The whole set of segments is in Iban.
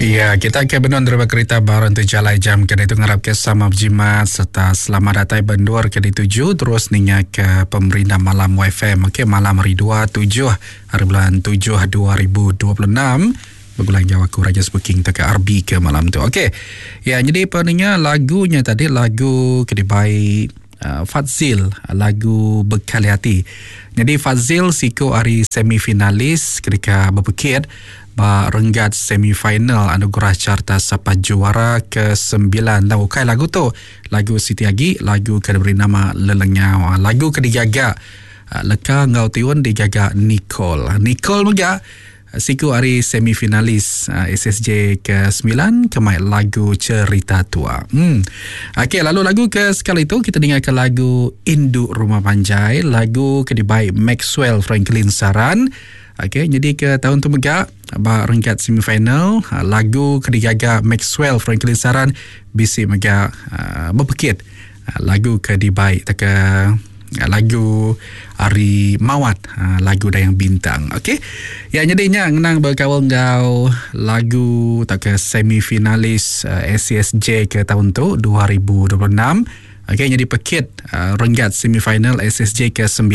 Ya, kita ke benung deriba kerita baru enti jalai jam ke ditu ngarap ke sama bejimat serta selamat datai bendur ke dituju terus ninga ke pemerindang malam YFM. Okey, malam hari 2 7 hari bulan 7 2026 begulai enggau aku Raja Speaking tauka RB ke malam tu. Okey. Ya, jadi peninga lagunya tadi lagu ke dibai uh, Fadzil lagu Bekali Hati. Jadi Fadzil siku ari semifinalis ketika bepekit ba renggat semifinal Anugerah Carta Sapa Juara ke-9. Tang ukai lagu tu, lagu siti agi, lagu ke diberi nama Lelengau. Ah, lagu ke digaga ah, leka enggau tiun digaga Nicole. Nicole mega Siku ari semifinalis SSJ ke sembilan ke mai lagu Cerita Tua. Hmm. Okey, lalu lagu ke sekali tu kita dengarkan lagu Indu Rumah Panjai, lagu ke dibai Maxwell Franklin Saran. Okey, jadi ke tahun tu mega ba renggat semifinal ha, lagu ke digaga Maxwell Franklin Saran bisi mega uh, bepekit ha, lagu ke dibai teka Lagu ari Mawat ha, lagu Dayang Bintang. Okey. Ya jadi nya ngenang bekaul enggau lagu tauka semifinalis uh, eh, SCSJ ke tahun tu 2026. Okey jadi pekit uh, renggat semifinal SSJ ke 9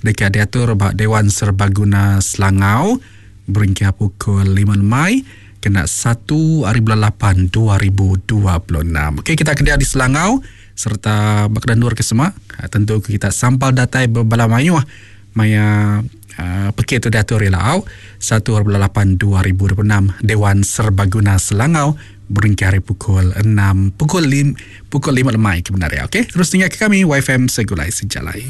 dekat diatur ba Dewan Serbaguna Selangau berengkah pukul 5 lemai kena 1 hari bulan 8 2026. Okey kita kedia di Selangau. Sereta baka endur ke sema, tentu ke kita sampal datai bebala mayuh maya pekit tu diatur ila au satu hari bulan lapan 2026 Dewan Serbaguna Selangau berengkah ari pukul enam pukul lim pukul lima lemai ke bendar iya. Okey terus tinggal ke kami YFM Segulai Sejalai.